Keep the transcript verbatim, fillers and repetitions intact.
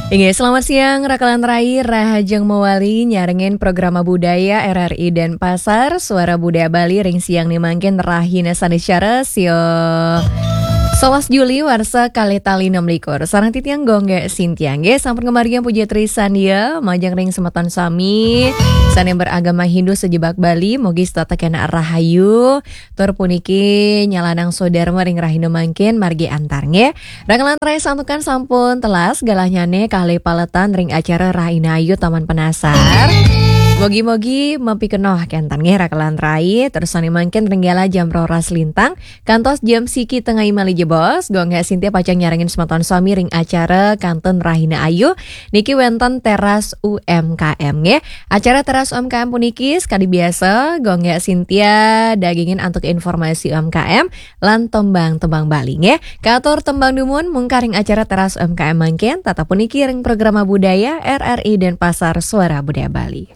Inggih, selamat siang, Rakalan Rai, Rahajeng Mawali, nyarengin Programa Budaya R R I Denpasar, Suara Budaya Bali, ring siang ni mangkin rahina Sanicara, sio solas Juli, warsa kalih tali enam likur. Sareng titiang Gongge Sintiang, nggih, sampun ngamargiang puja trisandia, majeng ring semeton sami, sane beragama Hindu sejebak Bali, mugi setata kena rahayu, tur puniki nyalanang sodarma ring rahina mangkin, margi antar, nggih. Rakalan Rai santukan sampun telas, galahnyane kalih paletan ring acara Rahina Ayu Taman Penasar. Mogi-mogi mapikenoh kenten nggih Rakalan Rai, terus sane mangkin ring galah jam roras lintang, kantos jam siki tengai malih jebos, Gongge Sintia pacang nyarengin semeton sami ring acara kantun Rahina Ayu, niki wenten Teras U M K M nggih. Acara Teras U M K M puniki sekadi biasa, Gongge Sintia dagingin antuk informasi U M K M, lan tembang-tembang Bali nggih. Katur tembang dumun mungkar ring acara Teras U M K M mangkin, tetep puniki ring Programa Budaya R R I Denpasar, Suara Budaya Bali.